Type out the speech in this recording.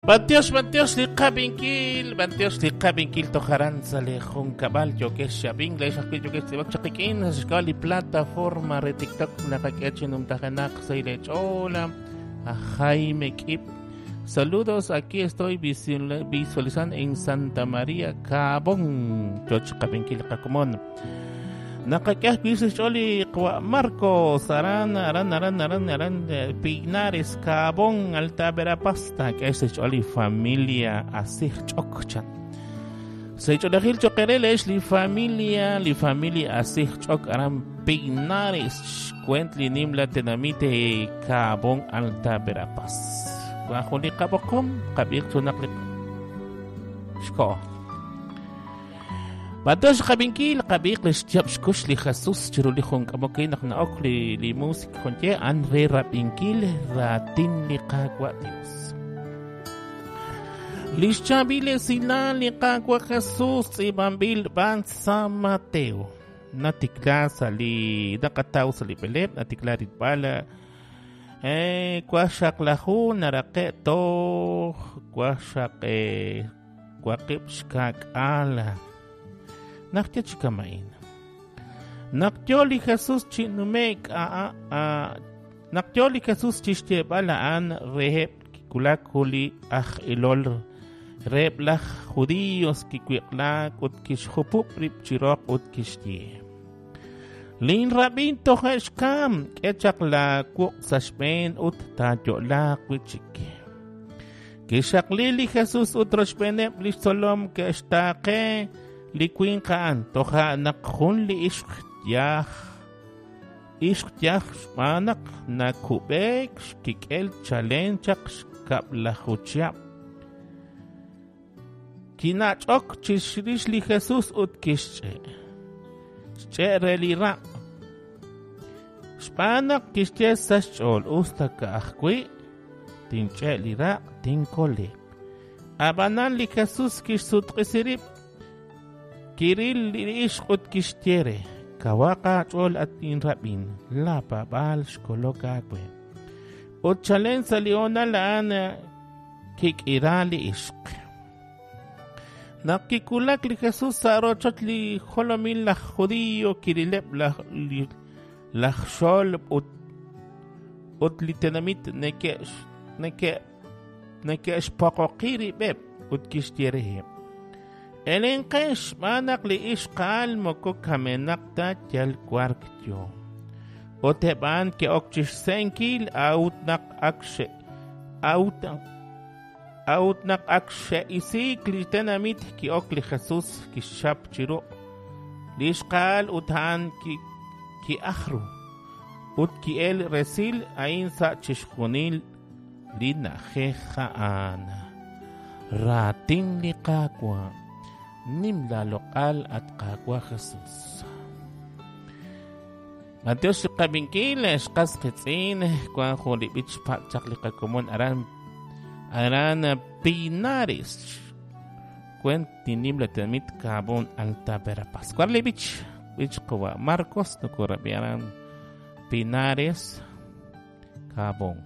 B'antiox, b'antiox li qab'inkil, b'antiox li qab'inkil toj aran sa' li junkab'al yookex xab'ink, leex ajwi' yookex tz'iib'ak chaq qik'in sa' xk'ab'a' li plataforma re TikTok naqak'e chi numtajenaq sa' li ch'ool a Jaime K'ib. Saludos, aquí estoy visualizando en Santa María, Cabón. Choch qab'inkil qakomon. Naqak'e ajwi' sa' xch'ool li qawa' Marcos aran aran aran aran aran Pinares Cabón Alta Verapaz taak'e sa' xch'ool li familia Asij Ch'ok chan. Sa' xch'oolejil cho'q eere leex li familia li familia Asij Ch'ok aran Pinares xkwent li nimla tenamit Cabón Alta Verapaz. Wan jun li qab'oqom qab'iiq junaq li xko'o. B'antiox xqab'inkil, qab'iiq li xyaab' xkux li Jesus chiru li jun k'amok naq na'ok li, li muusik junye an re rab'inkil raatin li Qaawa' Dios. Li xchaab'il esilal li Qaawa' Jesus tz'iib'anb'il b'an San Mateo. Natikla sa' li naqataw sa' li b'eleb', natikla rilb'al eh, waqxaqlaju naraqe' toj waqxaq eh, Waqib' xka'k'aal. Naq yo chi kama'in. Naq yo li Jesus chi nume'k naq yo li Jesus chi xyeeb'al a'an reheb' kiwulak jun li aj ilol reheb' laj judíos kiwiq'laak ut kixjupub' rib' chi roq ut kixye: Linrab'in toje' xkamk, k'e chaq laawuq' sa' xb'een ut taayo'laaq wi' chik. Kixaqli li Jesus ut rochb'eeneb' li xtzolom ke'xtaaqe li winq a'an. Toja' naq jun li ixq yaj ixq yaj xb'aan naq nakub'eek xkik'el chalen chaq xkab'laju chihab'. Kinach'ok chirix li Jesus ut kixch'e'. Xch'e' re li raq'. Xb'aan naq kixye sa' xch'ool, us ta ka'ajwi' tinch'e' li raq', tinkole'q. Ab'anan li Jesus kixsutq'isi rib', kiril li ixq ut kixye re, Kawaq aach'ool, at inrab'in, laapaab'aal xkolok aawe. Ut chalen sa' li hoonal a'an kik'ira li ixq. Naq kiwulak li Jesus sa' rochoch li jolomil laj Judio, kirileb' laj, laj xolb' ut ut li tenamit neke'xpoqoqi rib'eb' ut kixye reheb', Elenqex xb'aan naq li ixqa'al moko kamenaq ta yal wark yo. Ut eb' a'an ke'ok chi xse'enkil a'ut naq ak xe a'ut a'ut naq ak xe'isiik li tenamit ki'ok li Jesus kixchap chi ruq' li ixqa'al ut a'an ki'aj ru ut ki'el resil a'in sa' chixjunil li na'ajej a'an. Raatin li Qaawa', nim laaloq'al at Qaawa' Jesus. B'antiox li qab'inkil, xqas qitz'in, wank jun li b'ich xpatz' chaq li qakomon aran aran Pinares. Kwent li nimla tenamit Cabón Alta Verapaz. Wan li b'ich, b'ich qawa' Marcos nokorab'i aran Pinares, Cabón.